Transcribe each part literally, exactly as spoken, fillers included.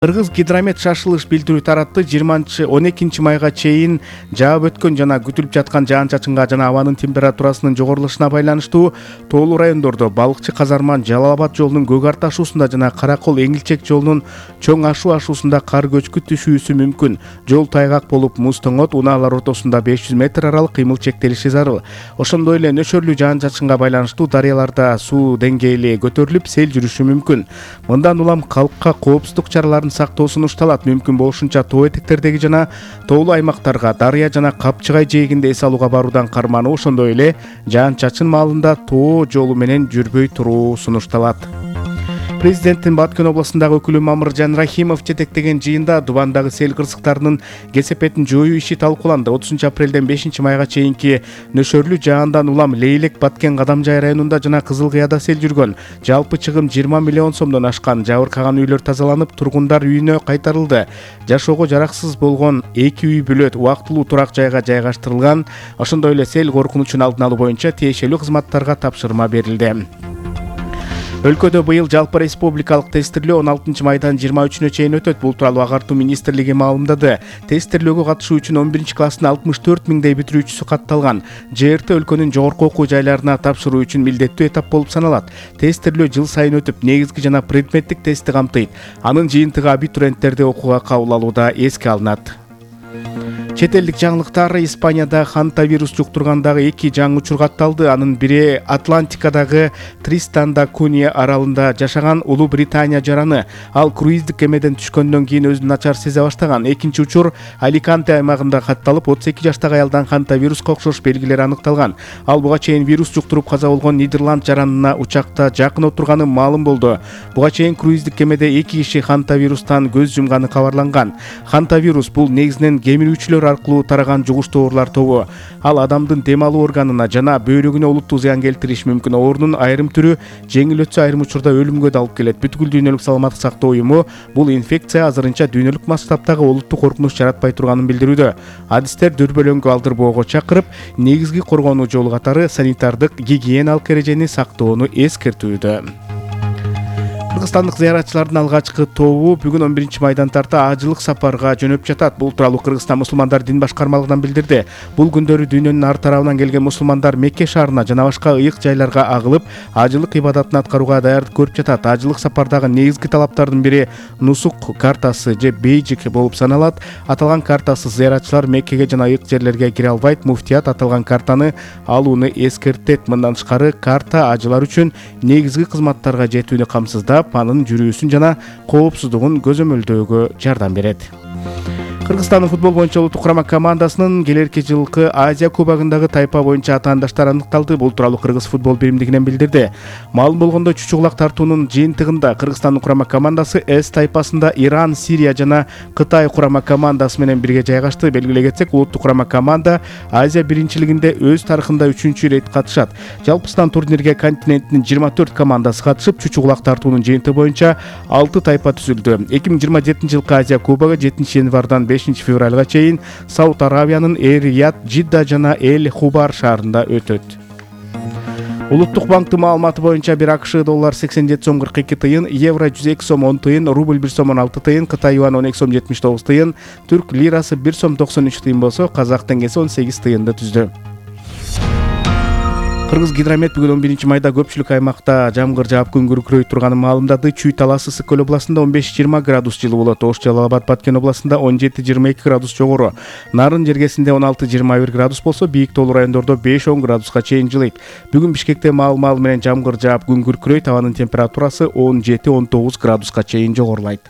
Кыргыз гидромет шашылыш билдирүү таратты. жыйырманчы он экинчи майга чейин жаап өткөн жана күтүлүп жаткан жаан-чачынга жана абанын температурасынын жогорулушуна байланыштуу тоолуу райондордо Балыкчы Казарман Жалал Абад жолунун Көк Арт ашуусунда жана Каракол Эңилчек жолунун Чоң Ашуу ашуусунда кар көчкү түшүүсү мүмкүн. Жол тайгак болуп, муз тоңот, унаалар ортосунда беш жүз метр аралык кыймыл чектелиши зарыл. Ошондой эле нөшөрлүү жаан-чачынга байланыштуу дарыяларда суу деңгээли көтөрүлүп, сел жүрүшү мүмкүн. Мындан улам калкка коопсуздук чараларын сактоо сунушталат. Мүмкүн болушунча тоо этектердеги жана тоолуу аймактарга, дарыя жана Капчыгай жээгинде эс алууга баруудан кармануу, ошондой эле жаан-чачын маалында тоо жолу менен жүрбөй туруу сунушталат. Президенттин Баткен областындагы өкүлү Мамыржан Рахимов жетектеген жыйында Дубандагы сел кырсыктарынын кесепетин жоюу иши талкууланды. отузунчу апрелден бешинчи майга чейинки нөшөрлүү жаандан улам Лейлек, Баткен, Кадамжай районунда жана Кызыл Кыяда сел жүргөн. Жалпы чыгым жыйырма миллион сомдон ашкан. Жабыркаган үйлөр тазаланып, тургундар үйүнө кайтарылды. Жашоого жараксыз болгон эки үй бүлөт убактылуу турак жайга жайгаштырылган. Ошондой эле сел коркунучун алдын алуу боюнча тиешелүү кызматтарга тапшырма берилди. Өлкөдө быйыл жалпы республикалык тестирлөө он алтынчы майдан жыйырма үчүнө чейин өтөт. Бул тууралуу Агартуу министрлиги маалымдады. Тестирлөөгө катышуу үчүн он биринчи класстын алтымыш төрт миңдей бүтүрүүчүсү катталган. Ж Р Т өлкөнүн жогорку окуу жайларына тапшыруу үчүн милдеттүү этап болуп саналат. Тестирлөө жыл сайын өтүп, негизги жана предметтик тестти камтыйт. Анын жыйынтыгы абитуриенттерди окууга кабыл алууда эске алынат. Чет элдик жаңылыктар: Испанияда ханта вирус жуктургандагы эки жаңы учур катталды. Анын бири Атлантикадагы Тристан да Кунья аралында жашаган Улуу Британия жараны. Ал круиздик кемеден түшкөндөн кийин өзүн начар сезе баштаган. Экинчи учур Аликанте аймагында катталып, отуз эки жаштагы аялдан ханта вируска окшош белгилер аныкталган. Ал буга чейин вирус жуктуруп каза болгон Нидерланд жаранына учакта жакын отурганы маалым болду. Буга чейин круиздик кемеде эки киши ханта вирустан көз жумганы кабарланган. Ханта вирус бул негизинен кемирүүчүлөр аркылуу тараган жугуштуу оорулар тобу. Ал адамдын дем алуу органына жана бөйрөгүнө олуттуу зыян келтириши мүмкүн. Оорунун айрым түрү жеңил өтсө, айрым учурда өлүмгө да алып келет. Бүткүл дүйнөлүк саламаттык сактоо уюму бул инфекция азырынча дүйнөлүк масштабтагы олуттуу коркунуч жаратпай турганын билдирүүдө. Адистер дүрбөлөңгү алдырбоого чакырып, негизги коргонуу жолу катары санитардык, гигиеналык эрежени сактоону эскертүүдө. Кыргызстандык зыяратчылардын алгачкы тобу бүгүн он биринчи майдан тарта ажылык сапарга жөнөп жатат. Бул тууралуу Кыргызстан мусулмандар дин башкармалыгынан билдирди. Бул күндөрү дүйнөнүн ар тарабынан келген мусулмандар Мекке шаарына жана башка ыйык жайларга агылып, ажылык ибадатын аткарууга даярдык көрүп жатат. Ажылык сапардагы негизги талаптардын бири нусук картасы же бейджик болуп саналат. Аталган картасыз зыяратчылар Меккеге жана ыйык жерлерге кире албайт. Муфтият аталган картаны алууну эскертет. Мындан тышкары, карта ажылар үчүн негизги кызматтарга жетүүнү камсыздап, анын жүрүүсүн жана коопсуздугун көзөмөлдөөгө жардам берет. Кыргызстандын футбол боюнча улуттук курама командасынын келерки жылкы Азия кубогундагы тайпа боюнча атаандаштар аныкталды. Бул тууралуу Кыргыз футбол биримдигинен билдирди. Маалым болгондой, чучугулак тартуунун жыйынтыгында Кыргызстандын курама командасы С тайпасында Иран, Сирия жана Кытай курама командасы менен бирге жайгашты. Белгилей кетсек, улуттук курама команда Азия биринчилигинде өз тарыхында үчүнчү ирет катышат. Жалпысынан турнирге континенттин жыйырма төрт командасы катышып, чучугулак тартуунун жыйынтыгы боюнча алты тайпа түзүлдү. эки миң жыйырма жетинчи жылкы Азия кубогу жетинчи январдан бешинчи февралга чейин Сауд Аравиянын Эр-Рияд, Жидда жана Эль-Хубар шаарында өтөт. Улуттук банктын маалыматы боюнча бир АКШ доллар сексен жети сом кырк эки тыйын, евро жүз эки сом он тыйын, рубль бир сом он алты тыйын, Кытай юан он эки сом жетимиш тогуз тыйын, түрк лирасы бир сом токсон үч тыйын болсо, казак теңгеси он сегиз тыйынды түздү. Кыргыз гидромет бүгүн он биринчи майда көпчүлүк аймакта жамгыр жаап күн күркүрөй турганын маалымдады. Чүй Талас Ысык көл областында он беш жыйырма градус жылы болот. Ош Жалал Абад Баткен областында он жети жыйырма эки градус жогору. Нарын жергесинде он алты жыйырма бир градус болсо, бийик тоолуу райондордо беш он градуска чейин жылыйт. Бүгүн Бишкекте маал-маал менен жамгыр жаап күн күркүрөйт. Абанын температурасы он жети он тогуз градуска чейин жогорулайт.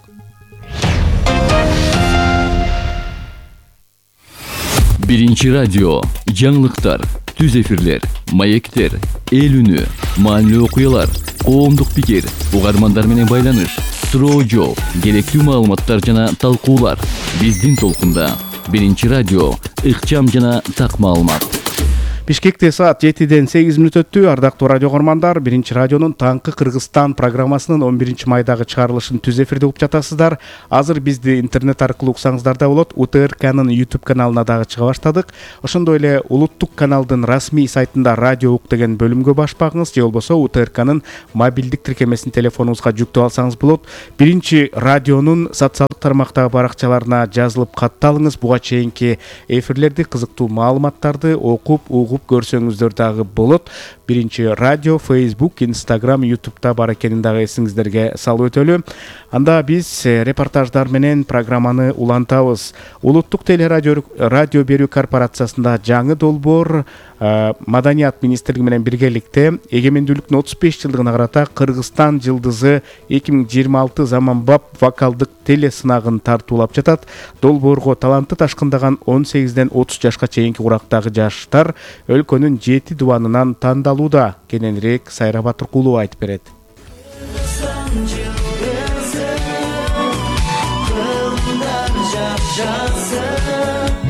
Биринчи радио, жаңылыктар, түз эфирлер, маектер, эл үнү, маанилүү окуялар, коомдук пикир, угармандар менен байланыш, суроо жооп, керектүү маалыматтар жана талкуулар. Биздин толкунда. Биринчи радио, ыкчам жана так маалымат. Бишкекте саат жетиден сегиз мүнөт өттү. Ардактуу радио угармандар, Биринчи радионун Таңкы Кыргызстан программасынын он биринчи майдагы чыгарылышын түз эфирде угуп жатасыздар. Азыр бизди интернет аркылуу уксаңыздар да болот. У Т Р Кнын YouTube каналына дагы чыга баштадык. Ошондой эле улуттук каналдын расмий сайтында радио ук деген бөлүмгө баш багыңыз, же болбосо У Т Р Кнын мобилдик тиркемесин телефонуңузга жүктөп алсаңыз болот. Биринчи радионун социалдык тармактагы баракчаларына жазылып катталыңыз. Буга чейинки эфирлерди, кызыктуу маалыматтарды окуп, угуп көрсөңүздөр дагы болот. Биринчи радио Facebook, Instagram, YouTube'да бар экенин дагы эсиңиздерге салып өтөлү. Анда биз репортаждар менен программаны улантабыз. Улуттук телерадио радио берүү корпорациясында жаңы долбоор Маданият министрлиги менен биргеликте эгемендүүлүктүн отуз беш жылдыгына карата Кыргызстан жылдызы эки миң жыйырма алты заманбап вокалдык телесынагын тартуулап жатат. Долбоорго таланты ташкындаган он сегизден отуз жашка чейинки курактагы жаштар өлкөнүн жети дубанынан тандалууда. Кененирээк Сайра Батыркулова айтып берет.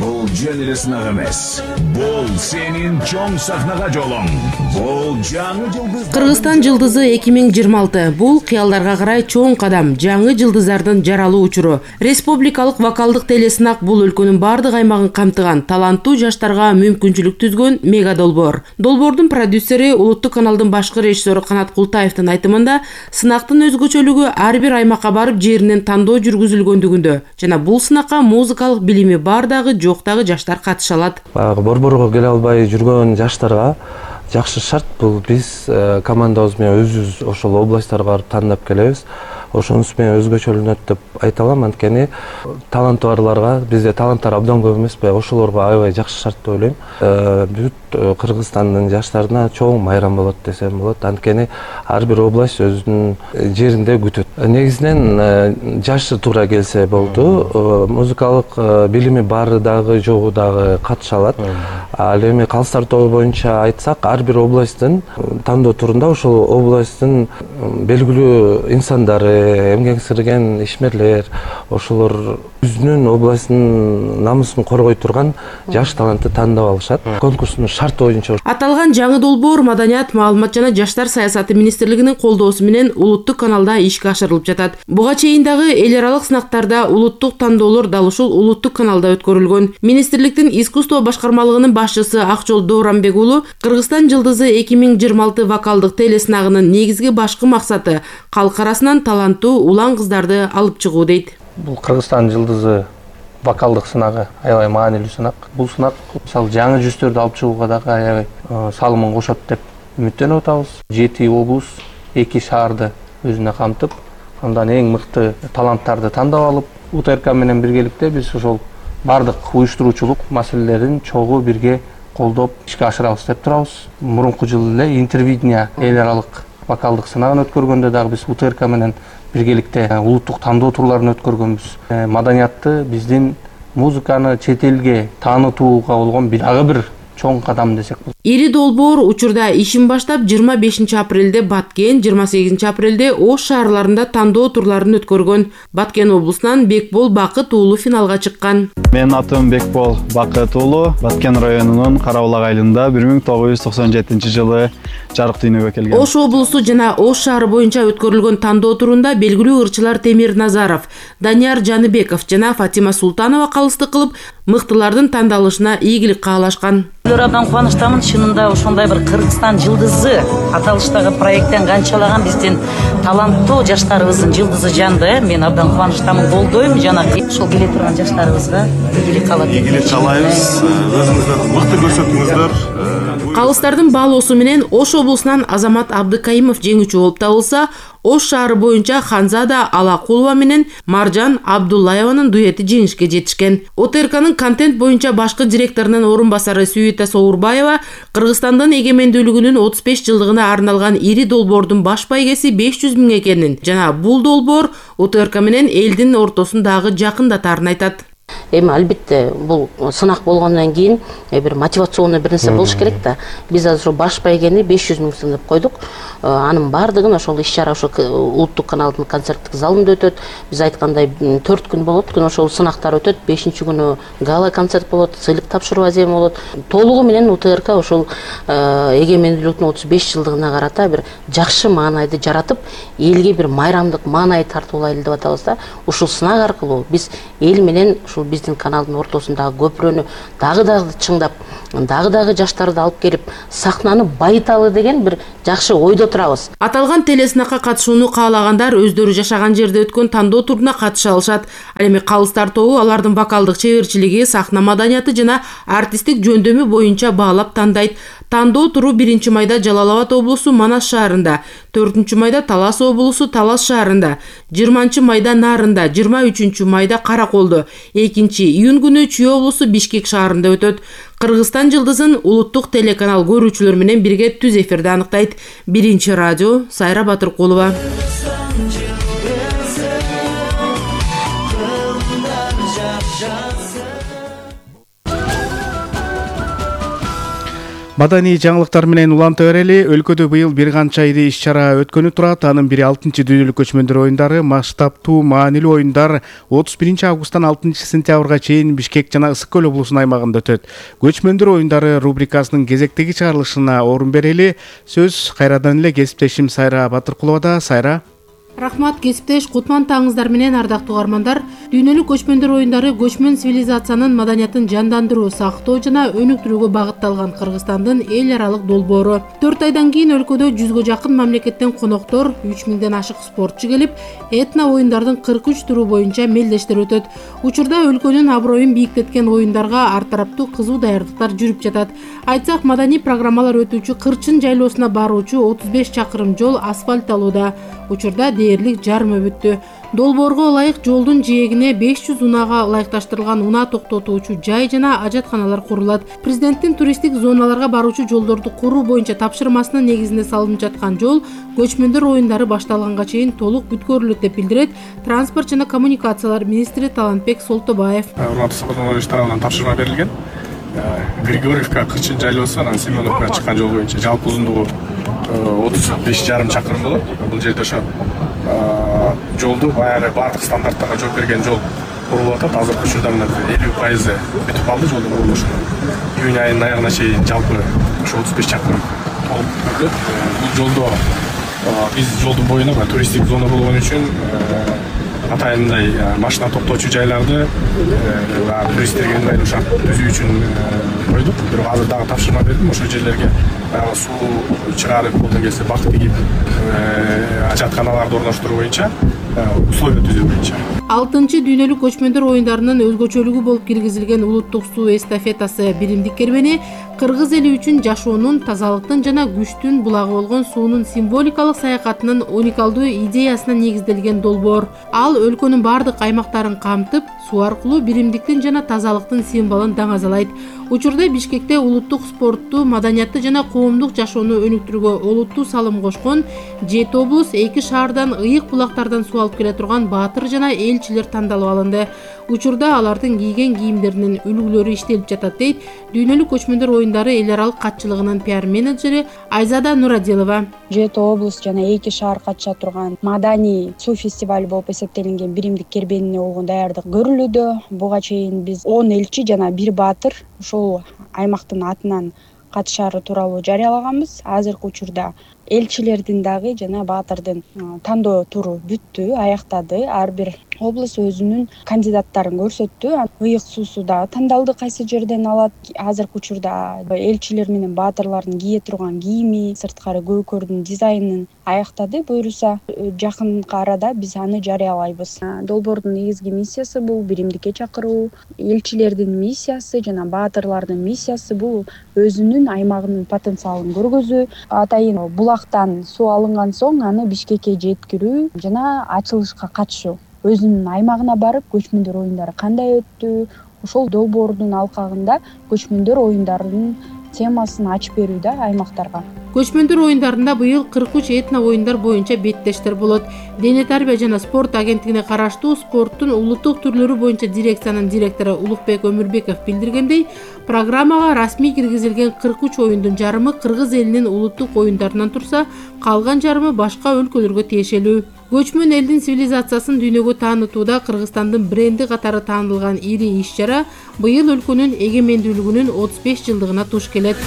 Бул жөн эле сынак эмес. Бул сенин чоң сахнага жолуң. Бул жаңы жылдыз. Кыргызстан жылдызы эки миң жыйырма алты. Бул кыялдарга карай чоң кадам, жаңы жылдыздардын жаралуу учуру. Республикалык вокалдык телесынак бул өлкөнүн бардык аймагын камтыган, таланттуу жаштарга мүмкүнчүлүк түзгөн мега долбоор. Долбоордун продюсери улуттук каналдын башкы режиссеру Канат Култаевдин айтымында, сынактын өзгөчөлүгү ар бир аймакка барып жеринен тандоо жүргүзүлгөндүгүндө жана бул сынакка музыкалык билими бар дагы жок дагы жаштар катыша алат. Баягы борборго келе албай жүргөн жаштарга жакшы шарт. Бул биз командабыз менен өзүбүз ошол областтарга барып тандап келебиз. Ошонусу менен өзгөчөлөнөт деп айта алам. Анткени таланты барларга, бизде таланттар абдан көп эмеспи, ошолорго аябай жакшы шарт деп ойлойм. Бүт Кыргызстандын жаштарына чоң майрам болот десем болот. Анткени ар бир область өзүнүн жеринде күтөт. Негизинен жашы туура келсе болду. Музыкалык билими бары дагы жогу дагы катыша алат. Ал эми калыстар тобу боюнча айтсак, ар бир областтын тандоо турунда ошол областтын белгилүү инсандары, эмгек сирген ишмерлер, ошолор өзүнүн областынын намысын коргой турган жаш талантты тандап алышат. Конкурстун шарты боюнча. Аталган жаңы долбоор Маданият, маалымат жана жаштар саясаты министрлигинин колдоосу менен улуттук каналда ишке ашырылып жатат. Буга чейин дагы эл аралык сынактарда улуттук тандоолор дал ушул улуттук каналда өткөрүлгөн. Министрликтин искусство башкармалыгынын башчысы Акжол Дооранбек уулу Кыргызстан жылдызы эки миң жыйырма алты вокалдык телесынагынын негизги башкы максаты калк арасынан таланттуу улан кыздарды алып чыгуу дейт. Бул Кыргызстан жылдызы вокалдык сынагы аябай маанилүү сынак. Бул сынак мисалы жаңы жүздөрдү алып чыгууга дагы аябай салымын кошот деп үмүттөнүп атабыз. жети облус, эки шаарды өзүнө камтып, андан эң мыкты таланттарды тандап алып, У Т Р К менен биргеликте биз ошол бардык уюштуруучулук маселелерин чогуу бирге колдоп ишке ашырабыз деп турабыз. Мурунку жылы эле интервидение эл аралык вокалдык сынагын өткөргөндө дагы биз У Т Р К менен биргеликте улуттук тандоо турларын өткөргөнбүз. Маданиятты, биздин музыканы чет элге таанытууга болгон дагы бир чоң кадам десек болот. Ири долбоор учурда ишин баштап жыйырма бешинчи апрелде Баткен, жыйырма сегизинчи апрелде Ош шаарларында тандоо турларын өткөргөн. Баткен облусунан Бекбол Бакыт уулу финалга чыккан. Менин атым Бекбол Бакыт уулу, Баткен районунун Карабулак айылында бир миң тогуз жүз токсон жетинчи жылы жарык дүйнөгө келген. Ош облусу жана Ош шаары боюнча өткөрүлгөн тандоо турунда белгилүү ырчылар Темир Назаров, Данияр Жаныбеков жана Фатима Султанова калыстык кылып, мыктылардын тандалышына ийгилик каалашкан. Абдан кубанычтамын, чынында ошондой бир Кыргызстан жылдызы аталыштагы проекттен канчалаган биздин таланттуу жаштарыбыздын жылдызы жанды. Мен абдан кубанычтамын, колдойм жана ошол келе турган жаштарыбызга ийгилик каалап. Ийгилик каалайбыз. Өзүңүздөрдү мыкты көрсөтүңүздөр. Калыстардын баалоосу менен Ош облусунан Азамат Абдыкайымов жеңүүчү болуп табылса, Ош шаары боюнча Ханзада Алакулова менен Маржан Абдуллаеванын дуэти жеңишке жетишкен. О Т Р Кнын контент боюнча башкы директорунун орун басары Сүйүта Соурбаева Кыргызстандын эгемендүүлүгүнүн отуз беш жылдыгына арналган ири долбоордун баш байгеси беш жүз миң экенин жана бул долбоор О Т Р К менен элдин ортосундагы жакындатарын айтат. Эми албетте бул сынак болгондон кийин бир мотивационный бир нерсе болуш керек да. Биз азыр баш байгени беш жүз миң сом деп койдук. Анын баардыгын ошол иш-чара ошо улуттук каналдын концерттик залында өтөт. Биз айткандай төрт күн болот. Күн ошол сынактар өтөт. бешинчи күнү гала концерт болот, сыйлык тапшыруу азем болот. Толугу менен УТРК ошол эгемендүүлүктүн отуз беш жылдыгына карата бир жакшы маанайды жаратып, элге бир майрамдык маанай тартуулайлы деп атабыз да. Ушул сынак аркылуу биз эл менен ушул биздин каналдын ортосундагы көпүрөнү дагы дагы чыңдап, дагы дагы жаштарды алып келип, сахнаны байыталы деген бир жакшы ойдо турабыз. Аталган телесынакка катышууну каалагандар өздөрү жашаган жерде өткөн тандоо туруна катыша алышат. Ал эми калыстар тобу алардын вокалдык чеберчилиги, сахна маданияты жана артисттик жөндөмү боюнча баалап тандайт. Тандоо туру биринчи майда Жалал Абад облусу Манас шаарында, төртүнчү майда Талас облусу Талас шаарында, жыйырманчы майда Нарында, жыйырма үчүнчү майда Караколдо, экинчи июнь күнү Чүй облусу Бишкек шаарында өтөт. Кыргызстан жылдызын улуттук телеканал көрүүчүлөр менен бирге түз эфирде аныктайт. Биринчи радио, Сайра Батыркулова. Маданий жаңылыктар менен уланта берели. Өлкөдө быйыл бир канча айда иш-чара өткөнү турат. Анын бири алтынчы дүйнөлүк көчмөндөр оюндары, масштабтуу, маанилүү оюндар отуз биринчи августтан алтынчы сентябрга чейин Бишкек жана Ысык көл облусунун аймагында өтөт. Көчмөндөр оюндары рубрикасынын кезектеги чыгарылышына орун берели. Сөз кайрадан эле кесиптешим Сайра Батыркуловада. Сайра. Рахмат, кесиптеш, кутман таңыңыздар менен ардактуу угармандар. Дүйнөлүк көчмөндөр оюндары көчмөн цивилизациянын маданиятын жандандыруу, сактоо жана өнүктүрүүгө багытталган Кыргызстандын эл аралык долбоору. төрт айдан кийин өлкөдө жүзгө жакын мамлекеттен коноктор, үч миңден ашык спортчу келип, этно оюндардын кырк үч туру боюнча мелдештер өтөт. Учурда өлкөнүн аброюн бийиктеткен оюндарга ар тараптуу кызуу даярдыктар жүрүп жатат. Айтсак, маданий программалар өтүүчү Кырчын жайлоосуна баруучу отуз беш чакырым жол асфальтталууда. Учурда дээрлик жарым өбүттү. Долбоорго ылайык жолдун жээгине беш жүз унаага ылайыкташтырылган унаа токтотуучу жай жана ажатканалар курулат. Президенттин туристтик зоналарга баруучу жолдорду куруу боюнча тапшырмасынын негизинде салынып жаткан жол көчмөндөр оюндары башталганга чейин толук бүткөрүлөт деп билдирет Транспорт жана коммуникациялар министри Талантбек Солтобаев. Урматтуу Сапар Омарович тарабынан тапшырма берилген. Григорьевка Кырчын жайлоосу анан Семеновкага чыккан жол боюнча жалпы узундугу отуз беш жарым чакырым болот. Бул жерде ошо жолду баягы баардык стандарттарга жооп берген жол курулуп атат. Азыркы учурда мына элүү пайызы бүтүп калды жолдун курулушу. Июнь айынын аягына чейин жалпы ошо отуз беш чакырым толуп бүтүрүлөт. Бул жолдо биз жолдун боюна туристтик зона болгон үчүн атайындай машина токтоочу жайларды туристтерге ыңгайлуу шарт түзүү үчүн койдук. Бирок азыр дагы тапшырма бердим. Ошол жерлерге баягы суу чыгарып, колдон келсе бак тигип, ажатканаларды орноштуруу боюнча условия түзүү боюнча. алтынчы дүйнөлүк көчмөндөр оюндарынын өзгөчөлүгү болуп киргизилген улуттук суу эстафетасы биримдик кербени кыргыз эли үчүн жашоонун, тазалыктын жана күчтүн булагы болгон суунун символикалык саякатынын уникалдуу идеясына негизделген долбоор. Ал өлкөнүн бардык аймактарын камтып, суу аркылуу биримдиктин жана тазалыктын символун даңазалайт. Учурда Бишкекте улуттук спортту, маданиятты жана коомдук жашоону өнүктүрүүгө олуттуу салым кошкон жети облус, эки шаардан, ыйык булактардан суу алып келе турган баатыр жана элчилер тандалып алынды. Учурда алардын кийген кийимдеринин үлгүлөрү иштелип жатат дейт Дүйнөлүк көчмөндөр оюндары эл аралык катчылыгынын пиар менеджери Айзада Нурадилова. жети облус жана эки шаар катыша турган маданий суу фестивали болуп эсептелинген биримдик кербенине болгон даярдык көрүлүүдө. Буга чейин биз он элчи жана бир баатыр ушул аймактын атынан катышары тууралуу жарыялаганбыз. Азыркы учурда элчилердин дагы жана баатырдын тандоо туру бүттү, аяктады. Ар бир облус өзүнүн кандидаттарын көрсөттү. Ыйык суусу дагы тандалды, кайсы жерден алат. Азыркы учурда элчилер менен баатырлардын кие турган кийими, сырткары көкөрдүн дизайнын аяктады. Буюрса жакынкы арада биз аны жарыялайбыз. Долбоордун негизги миссиясы бул биримдикке чакыруу. Элчилердин миссиясы жана баатырлардын миссиясы бул өзүнүн аймагынын потенциалын көргөзүү. Атайын булактан суу алынган соң аны Бишкекке жеткирүү жана ачылышка катышуу. Өзүнүн аймагына барып, көчмөндөр оюндары кандай өттү, ошол долбоордун алкагында көчмөндөр оюндарынын темасын ачып берүү да аймактарга. Көчмөндөр оюндарында быйыл кырк үч этно оюндар боюнча беттештер болот. Дене тарбия жана спорт агенттигине караштуу спорттун улуттук түрлөрү боюнча дирекциянын директору Улукбек Өмүрбеков билдиргендей, программага расмий киргизилген кырк үч оюндун жарымы кыргыз элинин улуттук оюндарынан турса, калган жарымы башка өлкөлөргө тиешелүү. Көчмөн элдин цивилизациясын дүйнөгө таанытууда Кыргызстандын бренди катары таанылган ири иш-чара быйыл өлкөнүн эгемендүүлүгүнүн отуз беш жылдыгына туш келет.